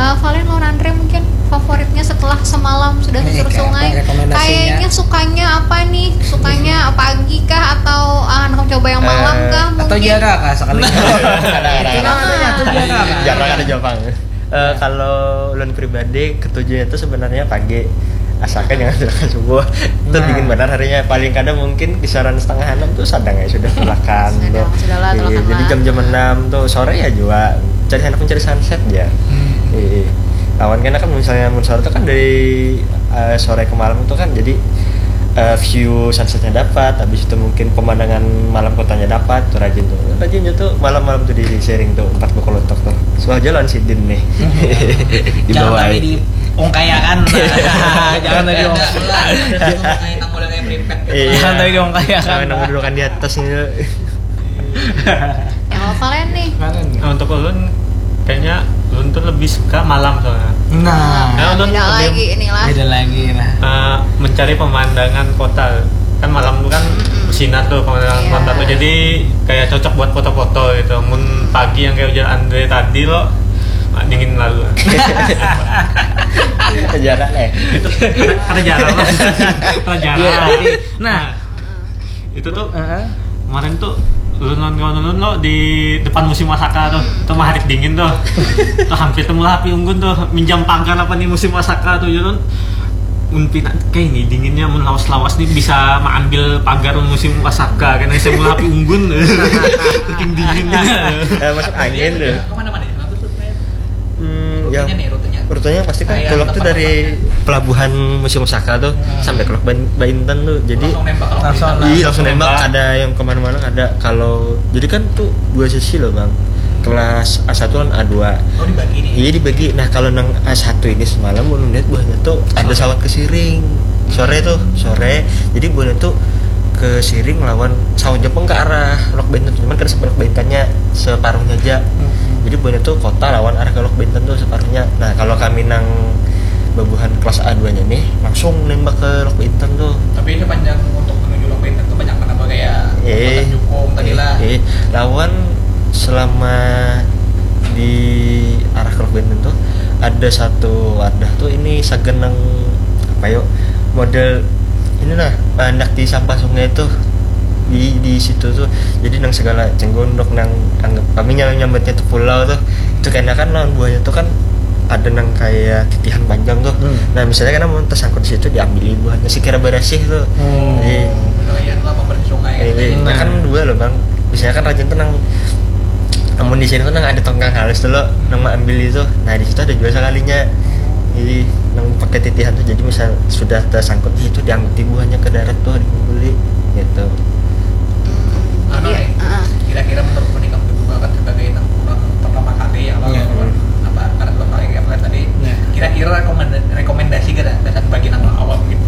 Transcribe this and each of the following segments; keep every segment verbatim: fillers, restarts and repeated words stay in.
Uh, Valen lawan Andre mungkin favoritnya setelah semalam sudah susur sungai, kayaknya sukanya apa nih? Sukanya pagi kah atau uh, handak coba yang malam kah mungkin? Atau jara kah sekali? Ada, ada, ada. Jara kah? Jara kah? Ada Jepang. Uh, kalau ulun pribadi ketujuhnya itu sebenarnya pagi, asalkan jangan silakan subuh. Itu dingin benar harinya, paling kada mungkin kisaran setengah enam tuh sadang ya sudah tulakan tuh. Iya, jadi jam-jam enam tuh sore ya juga cari, handak mencari sunset ya. Iya. Lawan kan, kan misalnya mun sore tuh kan dari uh, sore ke malam tuh kan, jadi uh, view sunsetnya dapat, habis itu mungkin pemandangan malam kotanya dapat tuh, rajin tuh, rajinnya tuh malam-malam tuh di sharing tuh empat buku lotok tuh. Suah jalan sidin nih. Jangan sampai diungkayakan. Jangan sampai diungkayakan. Jangan sampai diungkayakan. Iya. Jangan sampai diungkayakan. Sampai nang dudukan di atas nih. Yang Valen nih. Nah, untuk ulun kayaknya ulun tuh lebih suka malam soalnya. Nah, nah, ulun beda lagi inilah. Beda lagi nah. Uh, mencari pemandangan kota. Kan malam tuh kan sinar tuh pemandangan kota tuh. Jadi kayak cocok buat foto-foto gitu. Mun pagi yang kayak ujar Andre tadi lo, ah, dingin lalu. Sejarah nih. Ada jarang lah. Ada jarang. Nah, itu tuh kemarin tuh ulun lawan kawan ulun lo di depan Museum Asaka tuh, itu mah hari dingin tuh. Tuh hampir tuh meulah api unggun tuh, minjam pagar apa nih Museum Asaka tuh, ya kan. Mun pina kayak ini dinginnya, mun lawas-lawas nih bisa mengambil pagar Museum Asaka, karena saya meulah api unggun. Saking dinginnya. Eh, masuk angin tuh. Kemana-mana ya? Hmm, ya. Rutenya nih, rutenya. Rutenya pasti kan kayak tulak tuh tempat dari tempatnya. Pelabuhan Museum Osaka tuh sampai ke Lok Ban- Baintan tuh. Jadi langsung nembak kalau langsung, iya, langsung nembak, ada yang kemana-mana ada. Kalau jadi kan tuh dua sesi loh, Bang. Kelas A satu dan A dua. Oh, dibagi nih. Iya, dibagi. Nah, kalau nang A satu ini semalam ulun lihat buhannya tuh ada sawat ke Siring. Sore tuh, sore. Jadi buhannya tuh ke Siring lawan sawat Jepang ke arah Lok Baintan. Cuman kada sampai Lok Baintannya, separuhnya aja. Jadi buhannya tuh kota lawan arah ke Lok Baintan tuh separuhnya. Nah, kalau kami nang babuhan kelas A dua-nya nih langsung nembak ke Lok Baintan tuh. Tapi ini panjang untuk menuju Lok Baintan tuh banyak mana kayak eh, jukung tadi eh, lah. Eh, lawan selama di arah ke Lok Baintan tuh ada satu wadah tuh ini sagan nang apa yuk model ini nah, anak di sampah sungai tuh di di situ tuh. Jadi nang segala cenggondok nang anggap kami nyam- nyambatnya tuh pulau tuh, itu kena kan lawan buahnya tuh kan ada nang kayak titihan panjang tuh. Hmm. Nah, misalnya kan mau tersangkut di situ, diambil buahnya sekira berasih tuh. Hmm. Jadi lumayan lah pembersih sungai. Nah, kan dua loh, Bang. Misalnya kan rajin tuh nang amun di sini tuh nang ada tongkang halus tuh lo, nang mau ambil itu. Nah, di situ ada juga sekalinya. Jadi nang pakai titihan tuh, jadi misal sudah tersangkut di situ, diangkut buahnya ke darat tuh, dibeli gitu. Anu nih, kira-kira menurut menikah berdua kan sebagai nang orang pertama kali ya, lo apa karena dua kali kayak tadi, kira-kira rekomenda- rekomendasi gak ada dan bagi nang awam gitu.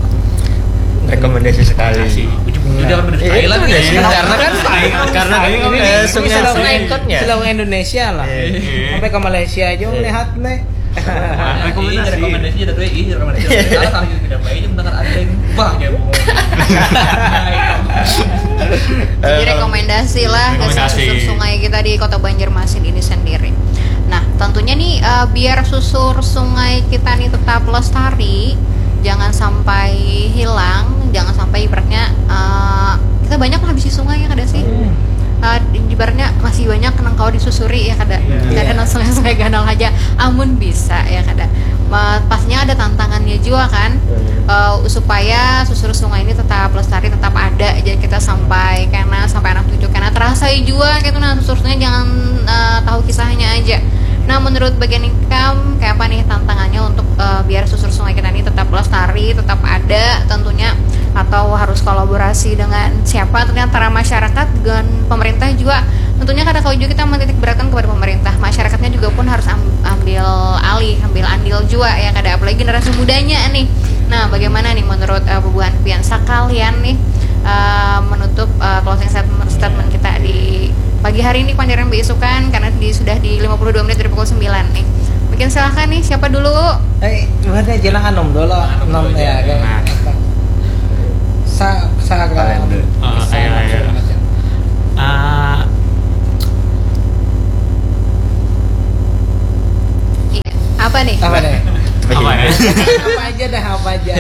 Rekomendasi sekali. Ujuk-ujuk dia kan udah sekali lagi. Karena kan karena kan ini eh, sungai sungai ikutnya. Selalu Indonesia lah. Sampai ke Malaysia aja melihat nih. Rekomendasi. Rekomendasi ada dua, iya rekomendasi. Salah salah juga tidak baik, mendengar ada yang bah dia ngomong. Jadi rekomendasi lah ke susur sungai kita di Kota Banjarmasin ini sendiri. Nah, tentunya nih eh, biar susur sungai kita nih tetap lestari, jangan sampai hilang, jangan sampai ibaratnya eh, kita banyak lah bisi sungai ya kada sih. Eh, ibaratnya masih banyak nang kawa disusuri ya kada. Kada nang sungai-sungai ganal aja. Amun bisa ya kada. Ma- pastinya ada tantangannya juga kan. Eh, supaya susur sungai ini tetap lestari, tetap ada aja kita sampai kena sampai anak cucu kena terasa juga gitu. Nah, susur sungai jangan eh, tahu kisahnya aja. Nah, menurut bagian ikam kayak apa nih tantangannya untuk eh, biar susur sungai kita ini tetap lestari, tetap ada tentunya, atau harus kolaborasi dengan siapa, tentunya antara masyarakat dengan pemerintah juga. Tentunya kada kawa juga kita menitik beratkan kepada pemerintah, masyarakatnya juga pun harus am- ambil alih, ambil andil juga ya kada, apalagi generasi mudanya nih. Nah, bagaimana nih menurut uh, bubuhan pian sekalian nih uh, menutup uh, closing statement, statement kita di pagi hari ini, panjaran beisukan karena di, sudah di lima puluh dua menit dari pukul sembilan nih. Mungkin silahkan nih, siapa dulu? Eh, buatnya aja lah, Anom dulu. Anom ya, kan. Sa sa kalian dulu. Ah, ayo, ayo. Ah, iya. Apa nih? Apa nih? Apa ya? Apa aja dah, apa aja.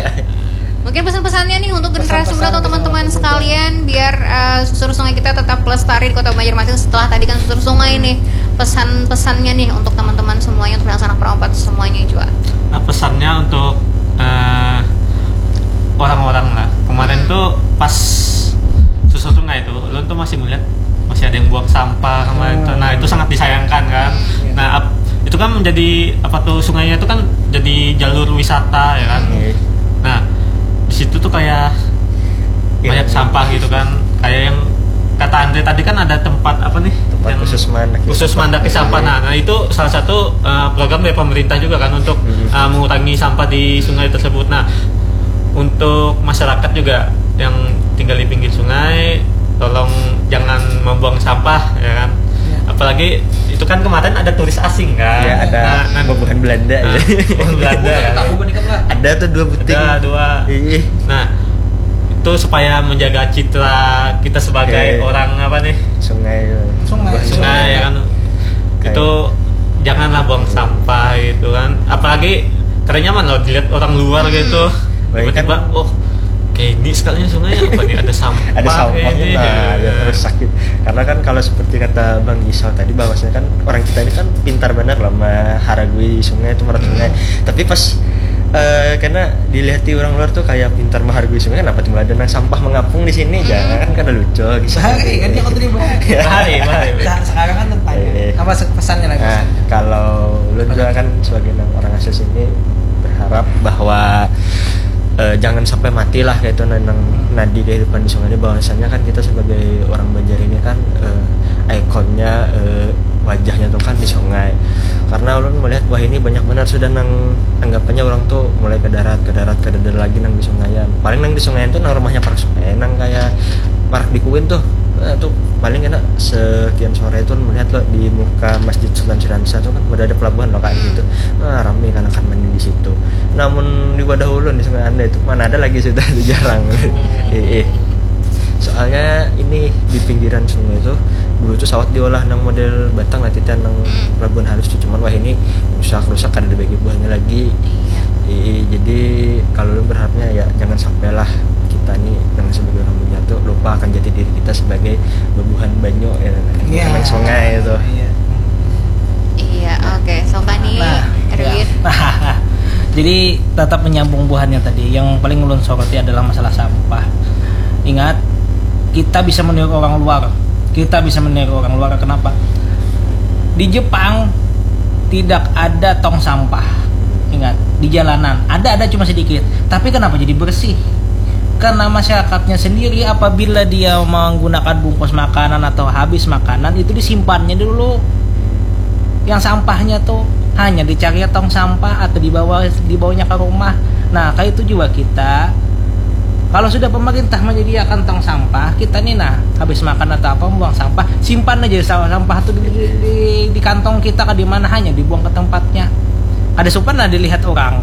Mungkin pesan-pesannya nih untuk generasi muda atau teman-teman sekalian, biar uh, susur sungai kita tetap lestari di Kota Banjarmasin. Setelah tadi kan susur sungai nih, pesan-pesannya nih untuk teman-teman semuanya, untuk anak perempat semuanya juga. Nah, pesannya untuk uh, orang-orang lah. Kemarin hmm. tuh pas susur sungai tuh, lo tuh masih melihat masih ada yang buang sampah kemarin hmm. tuh. Nah, itu sangat disayangkan kan. Hmm. Nah, ap- itu kan menjadi apa tuh, sungainya itu kan jadi jalur wisata ya kan. Hmm. Nah, di situ tuh kayak banyak sampah gitu kan, kayak yang kata Andre tadi kan ada tempat apa nih, tempat yang khusus mandaki khusus mandaki sampah. Nah, nah, itu salah satu uh, program dari pemerintah juga kan untuk hmm. uh, mengurangi sampah di sungai tersebut. Nah, untuk masyarakat juga yang tinggal di pinggir sungai, tolong jangan membuang sampah ya kan. Ya. Apalagi itu kan kemarin ada turis asing kan. Ya, ada nah, bubuhan Belanda nah, ya. Bubuhan Belanda ya. Ada tuh dua buting. Ada dua. Iya. Nah, itu supaya menjaga citra kita sebagai okay. orang apa nih? Sungai. Sungai. Sungai ya kan. Kayak itu janganlah buang sampah gitu kan. Apalagi karena nyaman loh dilihat orang luar hmm. gitu. Tiba-tiba, kan, oh kayak ini sekalinya sungai apa nih, ada sampah ada sampah ini, nah, ya. Rusak gitu. Karena kan kalau seperti kata Bang Gisal tadi, bahwasanya kan orang kita ini kan pintar benar loh menghargai sungai itu, merawat sungai. Tapi pas uh, karena dilihat di orang luar tuh kayak pintar menghargai sungai, kenapa tuh ada nang sampah mengapung di sini? Hmm. Jangan kan kada lucu gitu. Bahari kan dia terlibat. Bahari, bahari. Sekarang kan tentang eh. apa pesannya lagi? Nah, kalau lu juga kan sebagai orang asli sini berharap bahwa uh, jangan sampai mati lah kayak itu nang nadi kehidupan di sungai ini, bahwasanya kan kita sebagai orang Banjar ini kan uh, ikonnya uh, wajahnya tuh kan di sungai. Karena ulun melihat wah ini banyak benar sudah nang anggapannya orang tuh mulai ke darat, ke darat, ke darat lagi nang di sungai. Paling nang di sungai itu nang rumahnya parak sungai, nang kayak parak di kuin tuh. Nah, tuh paling kena sekian sore itu melihat loh di muka Masjid Sultan Syirah Nisa tuh kan udah ada pelabuhan loh kayak hmm. gitu. Nah, rame kan akan mandi di situ. Namun di wadah ulun di sungai anda itu mana ada lagi sudah itu jarang. Iya. Soalnya ini di pinggiran sungai itu dulu tuh sawat diolah nang model batang lah titian nang hmm. pelabuhan halus tuh, cuman wah ini rusak rusak kada ada bagi buahnya lagi. Iya. Iya, jadi kalau lu berharapnya ya jangan sampailah kita nih dengan sebagai orang Banjar tuh lupa akan jati diri kita sebagai bubuhan banyu ya, yeah. Sungai itu. Iya. Iya, oke. Okay. Sokani, nah, Erwin. Ya. Jadi tetap menyambung buhannya tadi. Yang paling ulun soroti adalah masalah sampah. Ingat, kita bisa meniru orang luar. Kita bisa meniru orang luar. Kenapa? Di Jepang tidak ada tong sampah. Ingat, di jalanan ada, ada cuma sedikit. Tapi kenapa jadi bersih? Karena masyarakatnya sendiri apabila dia menggunakan bungkus makanan atau habis makanan itu disimpannya dulu. Yang sampahnya tuh hanya dicari tong sampah atau dibawa dibawanya ke rumah. Nah, kayak itu juga kita. Kalau sudah pemerintah menyediakan tong sampah, kita nih nah habis makan atau apa buang sampah, simpan aja sampah tuh di, di, di, di kantong kita ke di mana hanya dibuang ke tempatnya. Ada sopan lah dilihat orang.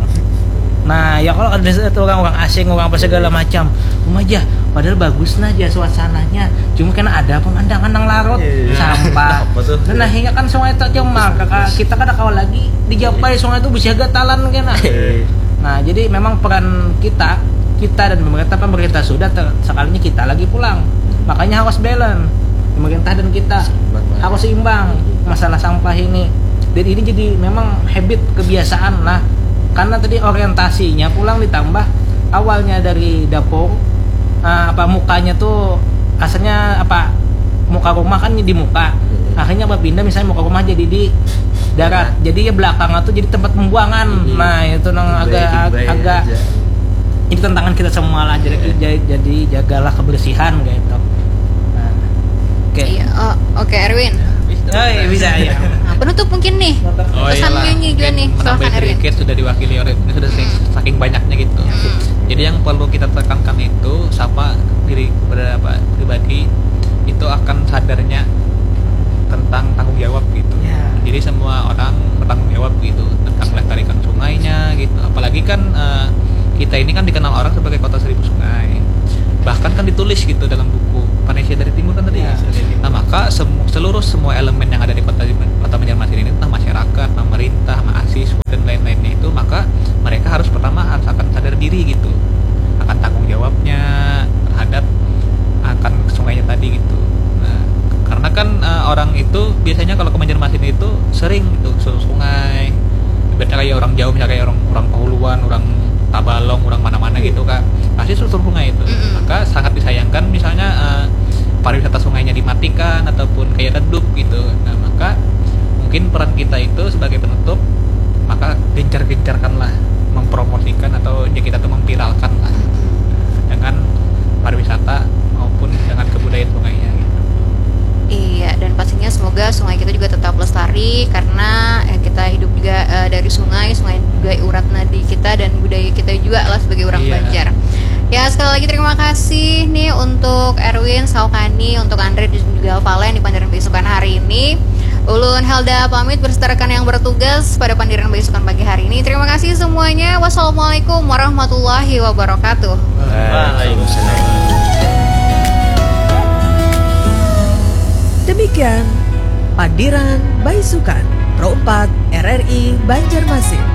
Nah, ya kalau ada orang orang asing orang apa segala macam, rumah aja padahal bagus nah aja suasananya, cuma karena ada pemandangan nang larut yeah. sampah dan akhirnya kan sungai itu cemar kakak kita kada kawan lagi dijapai sungai itu bisa gatalan kena yeah. Nah, jadi memang peran kita kita dan pemerintah pemerintah sudah ter, sekalinya kita lagi pulang, makanya harus balance pemerintah dan kita harus seimbang masalah sampah ini. Dan ini jadi memang habit kebiasaan lah karena tadi orientasinya pulang ditambah awalnya dari dapur uh, apa mukanya tuh kasarnya apa muka rumah kan di muka hmm. Akhirnya berpindah misalnya muka rumah jadi di darat jadi ya belakangnya tuh jadi tempat pembuangan hmm. Nah itu nang agak agak jadi tantangan kita semua lah jadi yeah. Jadi jagalah kebersihan gitu. Nah. Oke. Okay. Iya, oh, oke okay, Erwin. Oh, iya, bisa ya. Nah, penutup mungkin nih. Oh, pesan nyanyi juga nih. Silakan Erwin. Sedikit sudah diwakili oleh ini sudah hmm. Saking banyaknya gitu. Hmm. Jadi yang perlu kita tekankan itu siapa diri kepada apa pribadi itu akan sadarnya tentang tanggung jawab gitu. Ya. Jadi semua orang bertanggung jawab gitu tentang melestarikan sungainya gitu. Apalagi kan uh, kita ini kan dikenal orang sebagai kota seribu sungai. Bahkan kan ditulis gitu dalam buku Venesia dari Timur kan tadi. Ya. Nah maka semu- seluruh semua elemen yang ada di kota kota Banjarmasin ini, entah masyarakat, pemerintah, mahasiswa dan lain Ibaratnya kayak orang jauh, misalnya kayak orang orang Pahuluan, orang Tabalong, orang mana-mana gitu, Kak, pasti susur sungai itu. Mm-mm. Maka sangat disayangkan misalnya eh, pariwisata sungainya dimatikan ataupun kayak redup gitu. Nah, maka mungkin peran kita itu sebagai penutup, maka gencar-gencarkanlah mempromosikan atau ya kita tuh memviralkan lah, dengan pariwisata maupun dengan kebudayaan sungainya gitu. Iya, dan pastinya semoga sungai kita juga tetap lestari karena eh, kita hidup juga eh, dari sungai, sungai juga urat nadi kita dan budaya kita juga lah sebagai orang Iya. Banjar. Ya, sekali lagi terima kasih nih untuk Erwin, Saukani, untuk Andre dan juga Valen di pandiran besukan hari ini. Ulun Helda pamit beserta rekan yang bertugas pada pandiran besukan pagi hari ini. Terima kasih semuanya. Wassalamualaikum warahmatullahi wabarakatuh. Waalaikumsalam. Demikian Pandiran Baisukan Pro empat R R I Banjarmasin.